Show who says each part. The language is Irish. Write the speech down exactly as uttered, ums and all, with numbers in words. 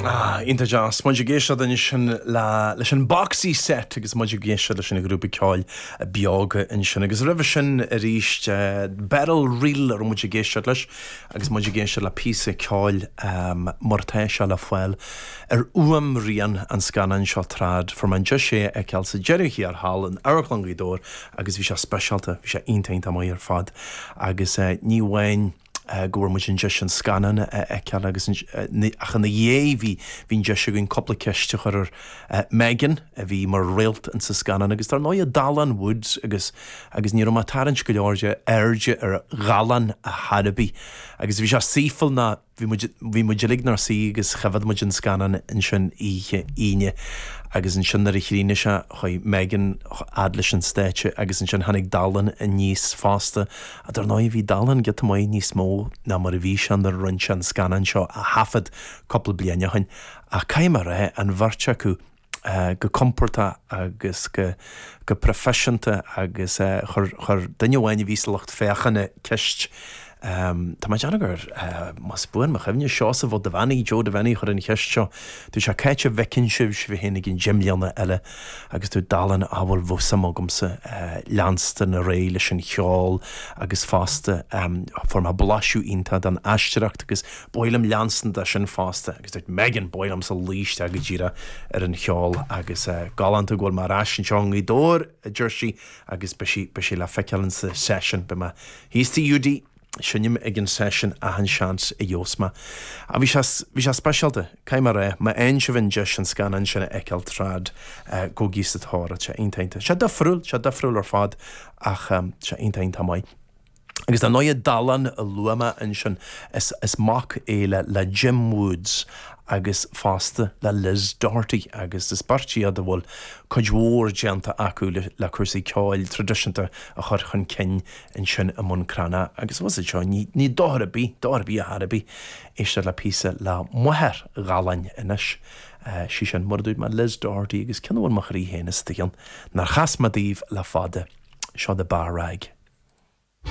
Speaker 1: Ah, iontach deas. Muid ag éisteacht ansin le leis an Boxy Set agus muid ag éisteacht leis an grúpa ceoil Beoga ansin. Agus roimhe sin arís uh, Beryl Reel ar muid ag éisteacht leis agus muid ag éisteacht le píosa ceoil um, mar atá sé le fáil ar fhuaimrian an scannáin seo Trad fuair mé an deis é a fheiceáil sa deireadh thiar thall in Amharclann Ghaoth Dobhair agus bhí sé speisialta, bhí sé iontach maith ar fad agus uh, ní amháin Uh, go bhfuair muid an deis an scannán a fheiceáil agus ach ina dhiaidh bhí bhí an deis againn cúpla ceist a chur ar uh, Megan a bhí mar réalt in sa scannán agus dar ndóigh Dallán Woods agus agus ní raibh mé ag tarraingt go leor de airde ar Dhallán a tharbaí agus bhí sé saoifil ná bhí bhí muid uilig inár suí agus choimhéad muid an scannán ansin oíche Aoine agus ansin nuair a chríochnaigh sé chuaigh Megan fhad leis an stáitse agus ansin tháinig Dallán aníos fosta a dar ndóigh bhí Dallán giota maith níos mó ná mar a bhí sé nuair a rinne sé an scannán seo a thaifead cúpla bliain ó shin ach caithfidh mé a rá an bheirt acu Uh, go compordach agus go, go proifisiúnta agus uh, chuir, chuir duine amháin a bhí sa lucht féachana ceist Um, Tá mé ag déanamh gur uh, más buan mo chuimhne Seosamh Ó Duibheannaigh Joe Devaney chuir an cheist seo, Tú sé céite bheiceann sibh sibh féin ag an gimléana eile agus dúirt Dallán ah bhuel bheadh suim agamsa uh, leanstan ar aghaidh leis an cheol agus fosta um, fuair mé blaiseadh iontach den aisteoireacht agus ba mhaith liom leanstan de sin fosta agus dúirt Megan ba mhaith liomsa luí isteach go díreach ar an cheol agus uh, galánta go bhfuil mé ar ais anseo i nGaoth Dobhair a deir sí agus beidh sí beidh sí le feiceáil sa session beidh mé thíos sa UD seinnim ag an session achan seans a gheobhas mé. A bhí sé bhí sé speisialta, caithfidh mé a rá, má fhaigheann sibh an deis an scannán sin a fheiceáil Trad uh, gabhaigí sa tóir sé iontach. Sé difriúil, sé difriúil ar fad ach um, sé iontach maith. Agus dar ndóigh Dallán a luaigh mé ansin is, is mac é le, le Jim Woods agus fosta le Liz Doherty agus is beirt iad a bhfuil cuid mhór déanta acu le, le cúrsaí ceoil traidisiúnta a chur chun cinn ansin i mBun Cranncha agus was seo ní, ní dochar ar bith, dochar ar bith a tharbaí éisteacht le píosa le máthair Dhalláin anois. Uh, sí sin mar a dúirt mé Liz Doherty agus ceann a bhfuil mo chroí féin istigh ann nár chas mé daoibh le fada seo The Bar Rag.